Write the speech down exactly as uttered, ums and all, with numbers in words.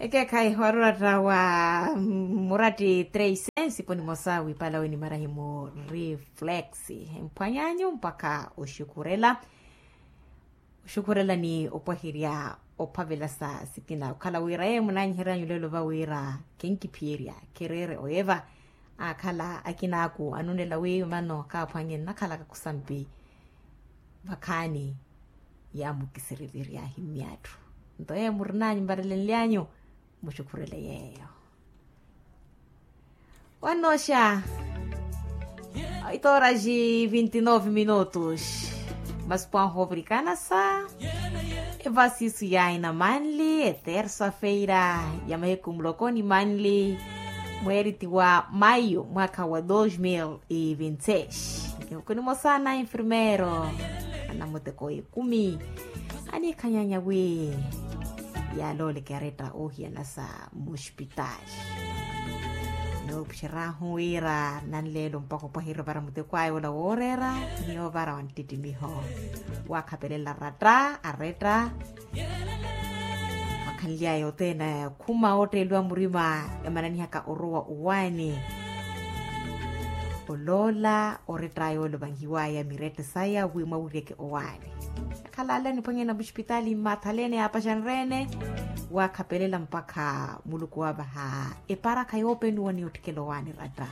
Ekeekhayi wari oratta wa muratti treysensi poni mosa wipalawe ni marahimu reflex. Emphwanyanyu mpakha oxukurela. Oxukurela ni opwahirya ophavela sa sikina okhala wira yeyo munanyiheryanyu lelo va wira, kenkiphiyerya khereere oyeva. Akhala akinaaku anunela wiiwi mano kaaphwanye nnakhalaka khusampi. Vakhaani yaamukisiriviryahi myatthu. Nto yeyo murinanyu mvarelenlyanyu, muxukhurele yeeyo. Wannooxa. Oito horas e vinte e nove minutos. Masipwanho ovirikana sa evasisu ya ina manli etersa-feira ya mahiku muloko ni manli, mweeri ti wa maio mwaakha wa dos mil e vinte e seis. Nihuku nimosa na enfermeiro anamuteko ekumi aniikhanyanya wi yaalooleke aretta oohiyana sa muxipitaali. Noopuxeryahu wira nanleelo mpakha opwahirya ovara muteko aya ola wooreera ni ovara wa nttittimiho. Waakhapelela ratta aretta. Wakhanly'aya othene khuma ootteeliwa murima emananihaka orowa owaani. Oloola orett'aya ole ovahiw'aya mirette saya wi mwawiryeke owaani. Akhalale aniphwanyana muxipitaali mmaathalene yaapaxanreene. Waakhapelela mpakha muluku waavaha eparakha yoopenuwa ni otthikela owaani ratta.